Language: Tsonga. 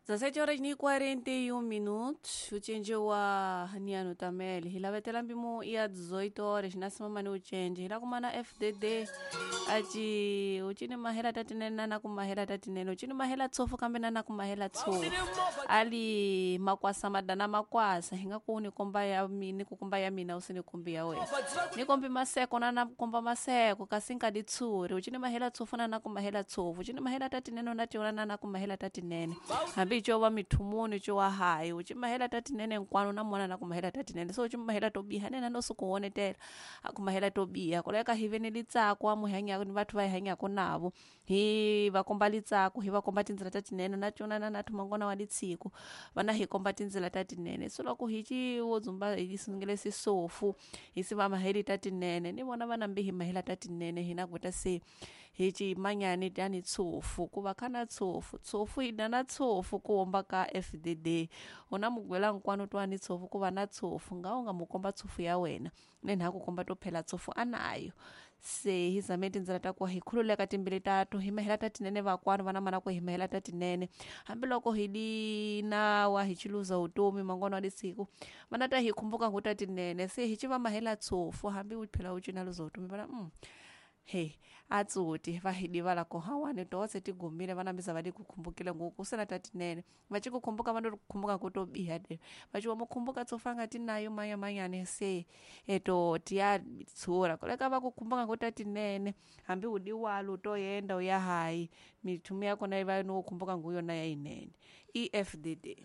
17 horas ni 41 minutos ucenje wa niano tamele hi lavetela mpimo ya 18 horas na simamani ucenje hi la kumana FDD aci ucini mahela tatinene na na kumahela tatinene ucini mahela tsofu kambe na na kumahela tsofu ali makwasa madana makwasa hi nga ku ni komba ya ni ku komba ya mina u si ni kombi ya wena ni kombi maseko na na komba maseko kasi nka di tshuri ucini mahela tsofu na na kumahela tsofu ucini mahela tatinene na tiona na na kumahela tatinene hambi co va mithumuni co wa hayi uci mahela tatinene nkwano na mona na kumahela tatinene so uci mahela to biha nena no suku wonetela a kumahela to biha koleka hi ve ni litsako a muhanyako ni vathu va hi hanyako navo hi va komba litsako hi va komba tindzela ta tinene na cona na nathu mangona wa litsiko va na hi komba tindzela ta tinene so loko hi ci wo dzumba hi sungule sisofu hi si va maheli ta tinene ni vona va nambi hi mahela ta tinene hina kuta se hi ci manyani tani tshofu ku va kha na tshofu tshofu hi na na tshofu ku homba ka FDD una mugwela nkwano twani tshofu ku va na tshofu nga u nga mu komba tshofu ya wena ne nha ku komba to phela tshofu anayo se hi zame tindzela ta ku hi khululeka timbili tatu hi mahela ta tinene vakwanu vana mana ku hi mahela ta tinene hambiloko hi di nawa hi chiluza utomi mangwana wa lisiku vana ta hi khumbuka ngu ta tinene se hi ci va mahela tshofu hambi u phela u cina luza utomi vana he a tsoti va hi divala ko hawani tose ti gumile vana mbisa va di ku khumbukile ngoku se na ta tinene va ci ku khumbuka va no ku khumbuka ku to biha de va ci wa mu khumbuka tsofa nga ti nayo manya manyani se eto ti ya tshura koleka va ku khumbuka ku ta tinene hambi u diwalo to yenda u ya hayi mithumu ya kona yi va no khumbuka ngu yona ya yinene EFDD.